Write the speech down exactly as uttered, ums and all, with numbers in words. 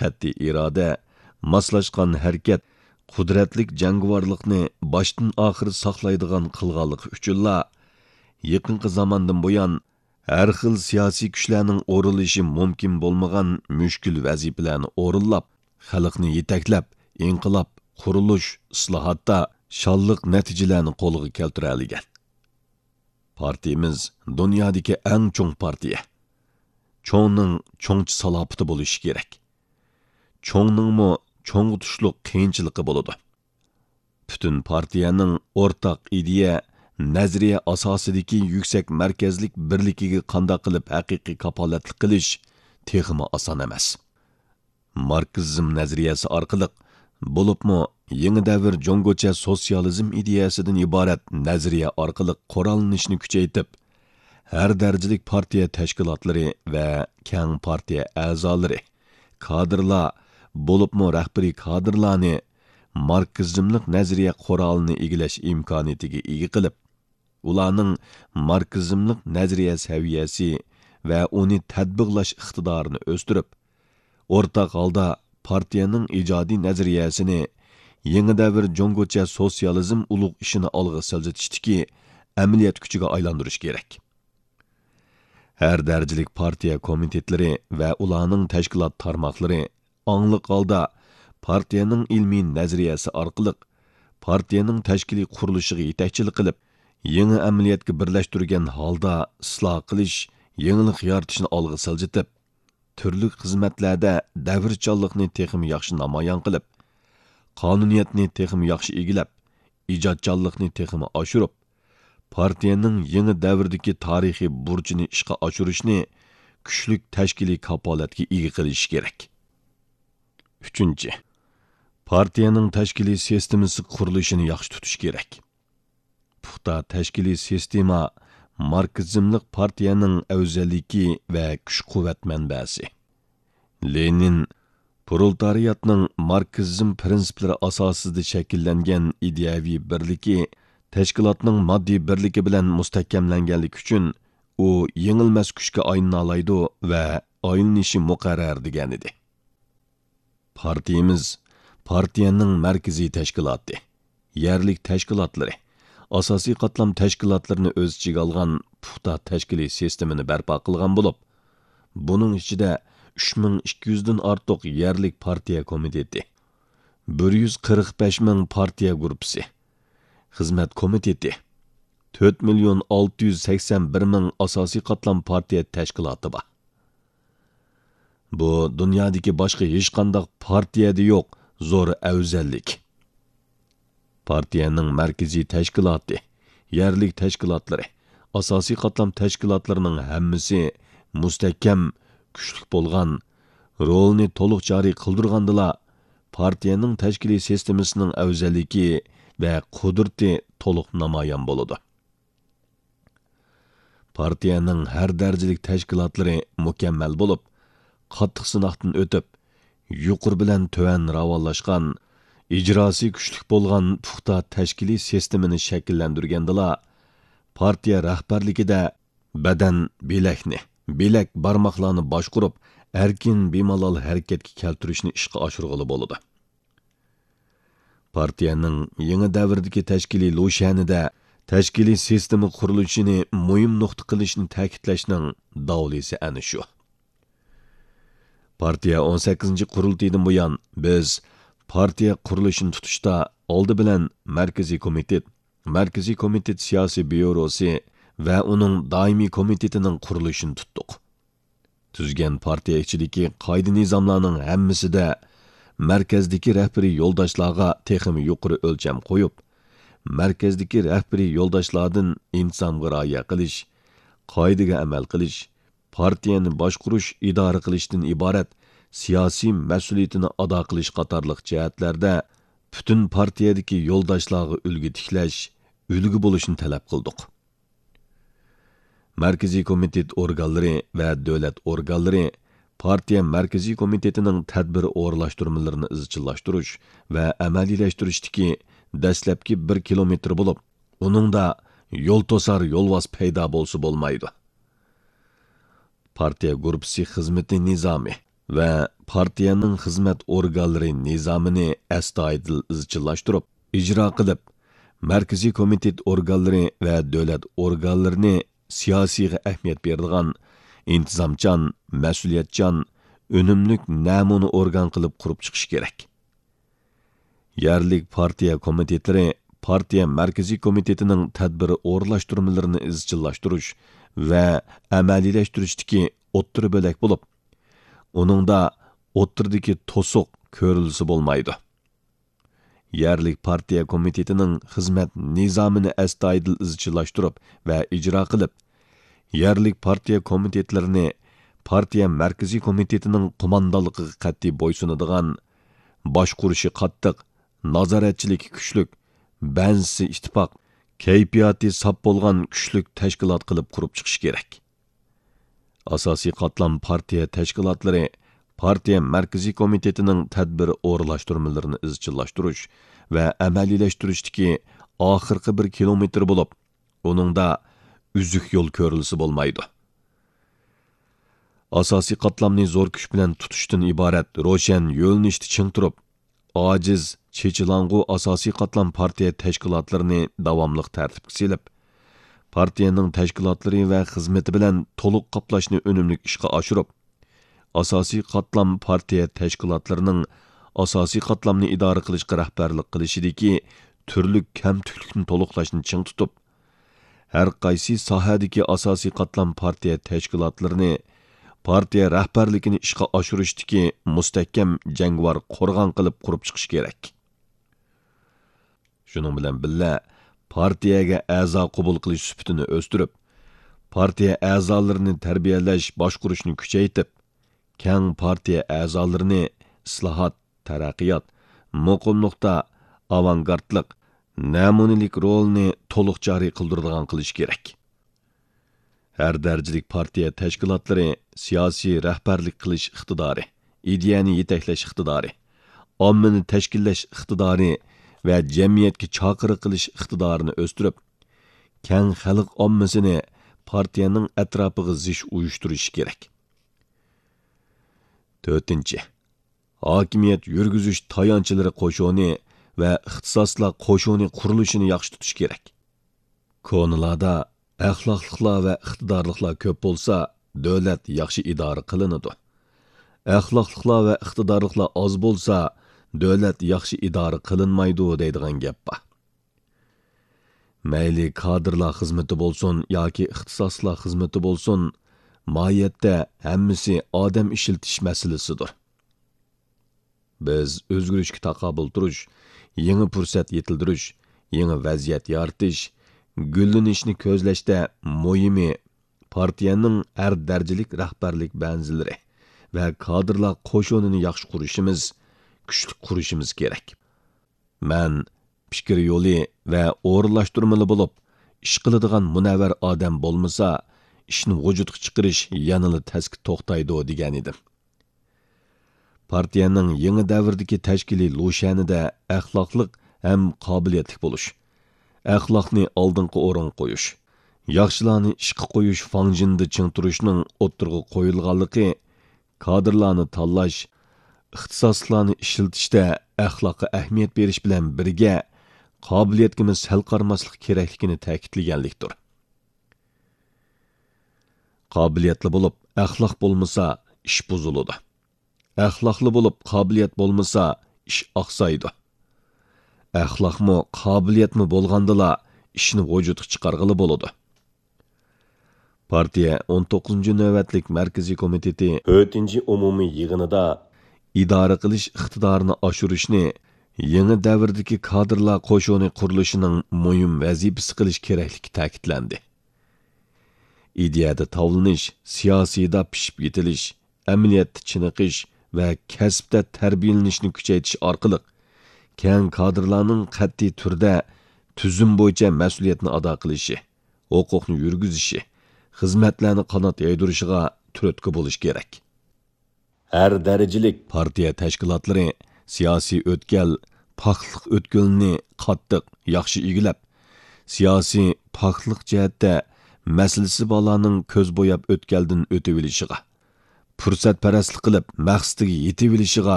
قەتئىي ئىرادە، ماسلاشقان ھەرىكەت، قۇدرەتلىك جەڭگىۋارلىقنى باشتىن ئاخىر ساقلايدىغان قىلغانلىقى ئۈچۈنلا، يېقىنقى زاماندىن بۇيان، ھەر خىل سىياسىي كۈچلەرنىڭ ئورۇنلىشى مۇمكىن بولمىغان مۈشكۈل ۋەزىپىلەرنى ئورۇنلاپ، خەلقنى يېتەكلەپ، ئىنقىلاب، قۇرۇلۇش، ئىسلاھاتتا شانلىق نەتىجىلەرنى قولغا كەلتۈرەلىگەن. پارتىيىمىز دۇنيادىكى ئەڭ چوڭ پارتىيە. چوڭنىڭ چوڭچە سالاپىتى بولۇشى كېرەك. چوڭنىڭمۇ چوڭغا تۇشلۇق قىيىنچىلىقى بولىدۇ. پۈتۈن پارتىيەنىڭ ئورتاق ئىدىيە، نەزەرىيە ئاساسىدىكى يۈكسەك مەركەزلىك بىرلىكىگە قانداق قىلىپ ھەقىقىي كاپالەتلىك قىلىش تېخىمۇ ئاسان ئەمەس. ماركسىزم نەزەرىيەسى ئارقىلىق، بولۇپمۇ يېڭى دەۋر جۇڭگوچە سوتسىيالىزم ئىدىيەسىدىن ئىبارەت نەزەرىيە ئارقىلىق قوراللىنىشنى كۈچەيتىپ، ھەر دەرىجىلىك پارتىيە تەشكىلاتلىرى ۋە كەڭ پارتىيە ئەزالىرى، كادىرلار، بولۇپمۇ رەھبىرىي كادىرلارنى ماركسىزملىق نەزەرىيە قورالىنى ئىگىلەش ئىمكانىيىتىگە ئىگە قىلىپ، ئۇلارنىڭ ماركسىزملىق نەزەرىيە سەۋىيەسى ۋە ئۇنى تەتبىقلاش ئىقتىدارىنى ئۆستۈرۈپ، ئورتاق ھالدا پارتىيەنىڭ ئىجادىي نەزەرىيەسىنى يېڭى دەۋر جۇڭگوچە سوتسىيالىزم ئۇلۇغ ئىشىنى ئالغا سىلجىتىشتىكى ئەمەلىيەت كۈچىگە ئايلاندۇرۇش كېرەك. ھەر دەرىجىلىك پارتىيە كومىتېتلىرى ۋە ئۇلارنىڭ تەشكىلات تارماقلىرى ئاڭلىق ھالدا پارتىيەنىڭ ئىلمىي نەزەرىيەسى ئارقىلىق پارتىيەنىڭ تەشكىلىي قۇرۇلۇشىغا يېتەكچىلىك قىلىپ، يېڭى ئەمەلىيەتكە بىرلەشتۈرگەن ھالدا ئىسلاھ قىلىش، يېڭىلىق يارىتىشنى ئالغا سىلجىتىپ، تۈرلۈك خىزمەتلەردە دەۋرچانلىقنى تېخىمۇ ياخشى نامايان قىلىپ، قانۇنىيەتنى تېخىمۇ ياخشى ئىگىلەپ، ئىجادچانلىقنى تېخىمۇ ئاشۇرۇپ، پارتىيەنىڭ يېڭى دەۋردىكى تارىخىي بۇرچىنى ئىشقا ئاشۇرۇشنى كۈچلۈك تەشكىلىي كاپالەتكە ئىگە قىلىشى كېرەك. ئۈچىنچى، پارتىيەنىڭ تەشكىلىي سىستېمىسى قۇرۇلۇشىنى ياخشى تۇتۇش كېرەك. پۇختا تەشكىلىي سىستېما ماركسىزملىق پارتىيەنىڭ ئەۋزەللىكى ۋە كۈچ-قۇۋۋەت مەنبەسى. لېنىن پرولېتارىياتنىڭ ماركسىزم پىرىنسىپلىرى ئاساسىدا شەكىللەنگەن ئىدىيەۋى بىرلىكى تەشكىلاتنىڭ ماددىي بىرلىكى بىلەن مۇستەھكەملەنگەنلىكى ئۈچۈن، ئۇ يېڭىلمەس كۈچكە ئايلىنالايدۇ ۋە ئايلىنىشى مۇقەررەر، دېگەنىدى. پارتىيىمىز پارتىيەنىڭ مەركىزىي تەشكىلاتى، يەرلىك تەشكىلاتلىرى، ئاساسىي قاتلام تەشكىلاتلىرىنى ئۆز ئىچىگە ئالغان پۇختا تەشكىلىي سىستېمىنى بەرپا قىلغان بولۇپ، بۇنىڭ ئىچىدە ئۈچ مىڭ ئىككى يۈزدىن ئارتۇق يەرلىك پارتىيە كومىتېتى، بىر يۈز قىرىق بەش مىڭ پارتىيە گۇرۇپپىسى، خىزمەت كومىتېتى، تۆت مىليون ئالتە يۈز سەكسەن بىر مىڭ ئاساسىي قاتلام پارتىيە تەشكىلاتى بار. بۇ دۇنيادىكى باشقا ھېچقانداق پارتىيەدە يوق زور ئەۋزەللىك. پارتىيەنىڭ مەركىزىي تەشكىلاتى، يەرلىك تەشكىلاتلىرى، ئاساسىي قاتلام تەشكىلاتلىرىنىڭ ھەممىسى مۇستەھكەم، كۈچلۈك بولغان، رولىنى تولۇق جارى قىلدۇرغاندىلا، پارتىيەنىڭ تەشكىلىي سىستېمىسىنىڭ ئەۋزەللىكى ۋە قۇدرىتى تولۇق نامايان بولىدۇ. پارتىيەنىڭ ھەر دەرىجىلىك تەشكىلاتلىرى مۇكەممەل بولۇپ، قاتتىق سىناقتىن ئۆتۈپ، يۇقىرى بىلەن تۆۋەن راۋانلاشقان، ئىجراسى كۈچلۈك بولغان پۇختا تەشكىلىي سىستېمىنى شەكىللەندۈرگەندىلا، پارتىيە رەھبەرلىكىدە بەدەن، بىلەكنى، بىلەك، بارماقلارنى باشقۇرۇپ، ئەركىن، بىمالال ھەرىكەتكە كەلتۈرۈشنى ئىشقا ئاشۇرغىلى بولىدۇ. پارتىيەنىڭ يېڭى دەۋردىكى تەشكىلىي لۇشيەنىدە تەشكىلىي سىستېما قۇرۇلۇشىنى مۇھىم نۇقتا قىلىشنى تەكىتلەشنىڭ داۋلىسى ئەنە شۇ. پارتىيە ئون سەككىزىنچى قۇرۇلتىيىدىن بۇيان، بىز پارتىيە قۇرۇلۇشىنى تۇتۇشتا ئالدى بىلەن مەركىزىي كومىتېت، مەركىزىي كومىتېت سىياسىي بيۇروسى ۋە ئۇنىڭ دائىمىي كومىتېتىنىڭ قۇرۇلۇشىنى تۇتتۇق. تۈزگەن پارتىيە ئىچىدىكى قائىدە-نىزاملارنىڭ ھەممىسىدە مەركەزدىكى رەھبىرىي يولداشلارغا تېخىمۇ يۇقىرى ئۆلچەم قويۇپ، مەركەزدىكى رەھبىرىي يولداشلاردىن ئىنتىزامغا رىئايە قىلىش، قائىدىگە ئەمەل قىلىش، پارتىيەنى باشقۇرۇش، ئىدارە قىلىشتىن ئىبارەت سىياسىي مەسئۇلىيىتىنى ئادا قىلىش قاتارلىق جەھەتلەردە پۈتۈن پارتىيەدىكى يولداشلارغا ئۈلگە تىكلەش، ئۈلگە بولۇشنى تەلەپ قىلدۇق. مەركىزىي كومىتېت ئورگانلىرى ۋە دۆلەت ئورگانلىرى پارتىيە مەركىزىي كومىتېتىنىڭ تەدبىر ئورۇنلاشتۇرمىلىرىنى ئىزچىللاشتۇرۇش ۋە ئەمەلىيلەشتۈرۈشتىكى دەسلەپكى بىر كىلومېتىر بولۇپ، ئۇنىڭدا يول توسار يولۋاس پەيدا بولسا بولمايدۇ. پارتىيە گۇرۇپپىسى خىزمىتى نىزامى ۋە پارتىيەنىڭ خىزمەت ئورگانلىرى نىزامىنى ئەستايىدىل ئىزچىللاشتۇرۇپ، ئىجرا قىلىپ، مەركىزىي كومىتېت ئورگانلىرى ۋە دۆلەت ئورگانلىرىنى سىياسىيغا ئەھمىيەت بېرىدىغان، ئىنتىزامچان، مەسئۇلىيەتچان، ئۈنۈملۈك نەمۇنە ئورگان قىلىپ قۇرۇپ چىقىش كېرەك. يەرلىك پارتىيە كومىتېتلىرى پارتىيە مەركىزىي كومىتېتىنىڭ تەدبىر ئورۇنلاشتۇرمىلىرىنى ئىزچىللاشتۇرۇش ۋە ئەمەلىيلەشتۈرۈشتىكى ئوتتۇرا بۆلەك بولۇپ، ئۇنىڭدا ئوتتۇرىدىكى توسۇق كۆرۈلسە بولمايدۇ. يەرلىك پارتىيە كومىتېتىنىڭ خىزمەت نىزامىنى ئەستايىدىل ئىزچىللاشتۇرۇپ ۋە ئىجرا قىلىپ، يەرلىك پارتىيە كومىتېتلىرىنى پارتىيە مەركىزىي كومىتېتىنىڭ قوماندانلىقىغا قەتئىي بويسۇنىدىغان، باشقۇرۇشى قاتتىق، نازارەتچىلىكى كۈچلۈك، بەنزىسى ئىتتىپاق، كەيپىياتى ساپ بولغان كۈچلۈك تەشكىلات قىلىپ قۇرۇپ چىقىش كېرەك. ئاساسىي قاتلام پارتىيە تەشكىلاتلىرى پارتىيە مەركىزىي كومىتېتىنىڭ تەدبىر ئورۇنلاشتۇرمىلىرىنى ئىزچىللاشتۇرۇش ۋە ئەمەلىيلەشتۈرۈشتىكى ئاخىرقى بىر كىلومېتىر بولۇپ، ئۇنىڭدا ئۈزۈك يول كۆرۈلسە بولمايدۇ. ئاساسىي قاتلامنى زور كۈچ بىلەن تۇتۇشتىن ئىبارەت روشەن يۆنىلىشتە چىڭ تۇرۇپ، ئاجىز، چېچىلاڭغۇ ئاساسىي قاتلام پارتىيە تەشكىلاتلىرىنى داۋاملىق تەرتىپكە سېلىپ، پارتىيەنىڭ تەشكىلاتلىرى ۋە خىزمىتى بىلەن تولۇق قاپلاشنى ئۈنۈملۈك ئىشقا ئاشۇرۇپ، ئاساسىي قاتلام پارتىيە تەشكىلاتلىرىنىڭ ئاساسىي قاتلامنى ئىدارە قىلىشقا رەھبەرلىك قىلىشىدىكى تۈرلۈك كەمتۈكلۈكنى تولۇقلاشنى چىڭ تۇتۇپ، ھەر قايسى ساھەدىكى ئاساسىي قاتلام پارتىيە تەشكىلاتلىرىنى، پارتىيە رەھبەرلىكىنى ئىشقا ئاشۇرۇشتىكى مۇستەھكەم جەڭگىۋار قورغان قىلىپ قۇرۇپ چىقىش كېرەك. شۇنىڭ بىلەن بىللە، پارتىيەگە ئەزا قوبۇل قىلىش سۈپىتىنى ئۆستۈرۈپ، پارتىيە ئەزالىرىنى تەربىيەلەش، باشقۇرۇشنى كۈچەيتىپ، كەڭ پارتىيە ئەزالىرىنى ئىسلاھات، تەرەققىيات، مۇقىملىقتا ئاۋانگارتلىق، نەمۇنىلىك رولىنى تولۇق جارى قىلدۇرىدىغان قىلىش كېرەك. ھەر دەرىجىلىك پارتىيە تەشكىلاتلىرى سىياسىي رەھبەرلىك قىلىش ئىقتىدارى، ئىدىيەنى يېتەكلەش ئىقتىدارى، ئاممىنى تەشكىللەش ئىقتىدارى ۋە جەمئىيەتكە چاقىرىق قىلىش ئىقتىدارىنى ئۆستۈرۈپ، كەڭ خەلق ئاممىسىنى پارتىيەنىڭ ئەتراپىغا زىچ ئۇيۇشتۇرۇشى كېرەك. تۆتىنچى، ھاكىمىيەت يۈرگۈزۈش تايانچلىرى قوشۇنى ۋە ئىختىساسلار قوشۇنى قۇرۇلۇشىنى ياخشى تۇتۇش كېرەك. كونىلاردا «ئەخلاقلىقلار ۋە ئىقتىدارلىقلار كۆپ بولسا، دۆلەت ياخشى ئىدارە قىلىنىدۇ. ئەخلاقلىقلار ۋە ئىقتىدارلىقلار ئاز بولسا، دۆلەت ياخشى ئىدارە قىلىنمايدۇ» دەيدىغان گەپ بار. مەيلى كادىرلار خىزمىتى بولسۇن ياكى ئىختىساسلار خىزمىتى بولسۇن، ماھىيەتتە ھەممىسى ئادەم ئىشلىتىش مەسىلىسىدۇر. بىز ئۆزگىرىشكە تاقابىل تۇرۇش، يېڭى پۇرسەت يېتىلدۈرۈش، يېڭى ۋەزىيەت يارىتىش، گۈللىنىشنى كۆزلەشتە مۇھىمى پارتىيەنىڭ ھەر دەرىجىلىك رەھبەرلىك بەنزىلىرى ۋە كادىرلار قوشۇنىنى ياخشى قۇرۇشىمىز، كۈچلۈك قۇرۇشىمىز كېرەك. مەن پىكىر يولى ۋە ئورۇنلاشتۇرمىلى بولۇپ ئىش قىلىدىغان مۇنەۋۋەر ئادەم بولمىسا، ئىشنى ۋۇجۇدقا چىقىرىش يەنىلا تەسكە توختايدۇ، دېگەنىدىم. پارتىيەنىڭ يېڭى دەۋردىكى تەشكىلىي لۇشيەنىدە ئەخلاقلىق ھەم قابىلىيەتلىك بولۇش، ئەخلاقنى ئالدىنقى ئورۇنغا قويۇش، ياخشىلارنى ئىشقا قويۇش فاڭجېنىدا چىڭ تۇرۇشنىڭ ئوتتۇرىغا قويۇلغانلىقى، كادىرلارنى تاللاش، ئىختىساسلىقلارنى ئىشلىتىشتە ئەخلاققا ئەھمىيەت بېرىش بىلەن بىرگە، قابىلىيەتكىمۇ سەل قارىماسلىق كېرەكلىكىنى تەكىتلىگەنلىكتۇر. قابىلىيەتلى بولۇپ، ئەخلاق بولمىسا، ئىش بۇزۇلىدۇ. ئەخلاقلى بولۇپ، قابىلىيەت بولمىسا، ئىش ئاقسايدۇ. ئەخلاقمۇ، قابىلىيەتمۇ بولغاندىلا، ئىشنى ۋۇجۇدقا چىقارغىلى بولىدۇ. پارتىيە ئون توققۇزىنچى نۆۋەتلىك مەركىزىي كومىتېتى تۆتىنچى ئومۇمىي يىغىنىدا ئىدارە قىلىش ئىقتىدارىنى ئاشۇرۇشنى يېڭى دەۋردىكى كادىرلار قوشۇنى قۇرۇلۇشىنىڭ مۇھىم ۋەزىپىسى قىلىش كېرەكلىكى تەكىتلەندى. ئىدىيەدە تاۋلىنىش، سىياسىيدا پىشىپ يېتىلىش، ئەمەلىيەتتە چېنىقىش ۋە كەسىپتە تەربىيەلىنىشنى كۈچەيتىش ئارقىلىق، كەڭ كادىرلارنىڭ قەتئىي تۈردە تۈزۈم بويىچە مەسئۇلىيەتنى ئادا قىلىشى، ھوقۇقنى يۈرگۈزۈشى، خىزمەتلەرنى قانات يايدۇرۇشىغا تۈرتكە بولۇش كېرەك. ھەر دەرىجىلىك پارتىيە تەشكىلاتلىرى سىياسىي ئۆتكەل، پاكلىق ئۆتكىلىنى قاتتىق، ياخشى ئىگىلەپ، سىياسىي پاكلىق جەھەتتە مەسىلىسى بارلارنىڭ كۆز بوياپ ئۆتكەلدىن ئۆتۈۋېلىشىغا، پۇرسەتپەرەسلىك قىلىپ مەقسىتىگە يېتىۋېلىشىغا